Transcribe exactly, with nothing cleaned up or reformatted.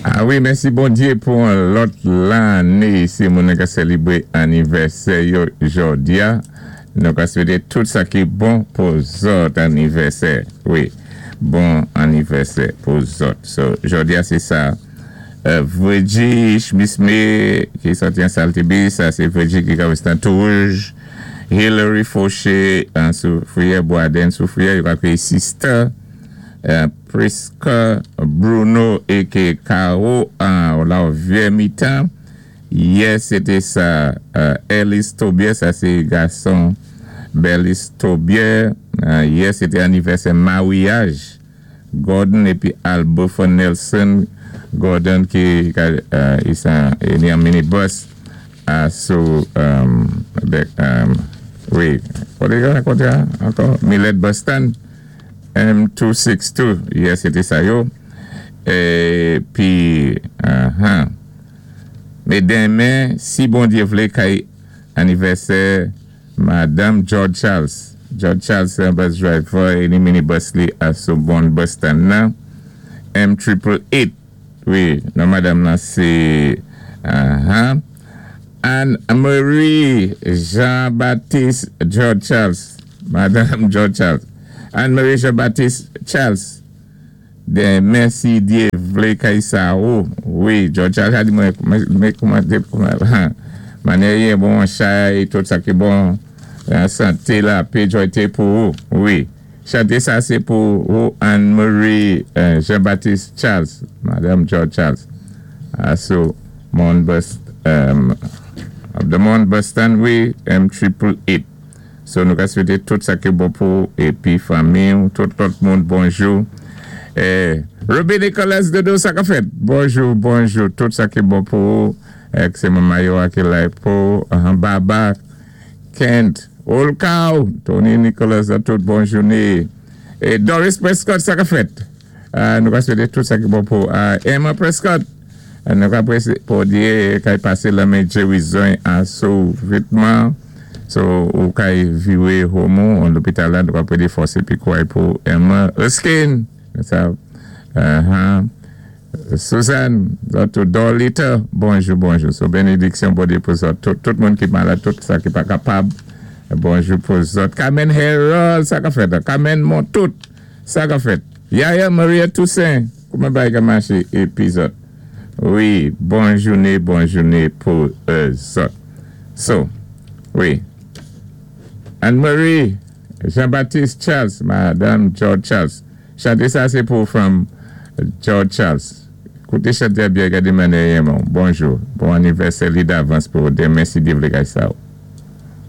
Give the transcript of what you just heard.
A wi, mèsi Bondyé pou yon lòt lanné. Si moun ka sélébwé anivèsè yo jòdi-a, nou ka swété tout sa ki bon pou zòt anivèsè. Wi, bon anivèsè pou zòt. So, jòdi-a sé sa. Euh, Virgie Schmisme ki sòti an Saltibus, sa sé Virgie ki ka wè Touj. Hillary Fauché an Soufrière, Boisden Soufrière, yo ka kwéyé Sister. Euh, Priska Bruno é Caro an la Vieux Mitan. Yè, sété sa. Euh, Ellis Tobier, sa sé gason Bellis Tobier. Euh, yè, sété anivèsè maryaj. Gordon épi Albofa Nelson. Gordon ki euh, i ni an minibus uh, sou um, um, wi, koté koté ankò? Millet Bus Stand M two sixty-two. Yè, sété sa yo. Épi, uh -huh. Mé denmen, si Bondyé vlé, kay anivèsè Madanm George Charles. George Charles, sé yon bus driver, é ni minibus li a sou bon bus stand nan. M triple eight. Wi, non madanm nan sé uh -huh. Anne-Marie Jean-Baptiste George Charles. Madanm George Charles. Anne-Marie Jean-Baptiste Charles. Denmen si Dyé vlé kay sa ou. Wi, George Charles a di mwen mwen kouman kouman manèyé bon chay, tout sa ki bon santé la, pé jwayté pou ou. Wi. Chanté sa sé pou ou Anne-Marie euh, Jean-Baptiste Charles, Madanm George Charles. Uh, so, Mon Bus, um, the Mon Bus Stand, wi, M triple eight. So, nou ka swété tout sa ki bon pou épi fanmi, tout lòt moun, bonjou. Eh, Ruby Nicolas Dodo, sa ka fèt. Bonjou, bonjou, tout sa ki bon pou ou. Ek sé manman yo ki la pou uh, Baba, Kent, Olkaw, Tony Nicolas, a tout bon jouné. É Doris Prescott, sa ka fèt. Uh, nou ka swété tout sa ki bon pou uh, Emma Prescott. Uh, nou ka pou di kay pasé lanmen Jerry an sou vitman. So, ou kay viwé homo, an lopital la, nou ka pwédé fòs épi kouway pou Emma Erskine. Sa, uh -huh. Suzanne, zòt Dorlita, bonjou, bonjou. So, bénédiksyon Bondyé pou zòt. Tout, tout moun ki malad, tout sa ki pa kapab, bonjou pou zòt. Carmen Harold, sa ka fèt. Carmen Montout, sa ka fèt. Yaya Maria Toussaint, kouman bagay ka maché épi zòt. Wi, bon jouné, bon jouné pou euh, zòt. So, wi. Anne-Marie, Jean-Baptiste Charles, Madanm George Charles. Chanté sa, sé pou from George Charles. Kouté chanté byen, gadé manèyé Bonjou. Bon anivèsè li davans pou denmen si Dyé vlé kay sa.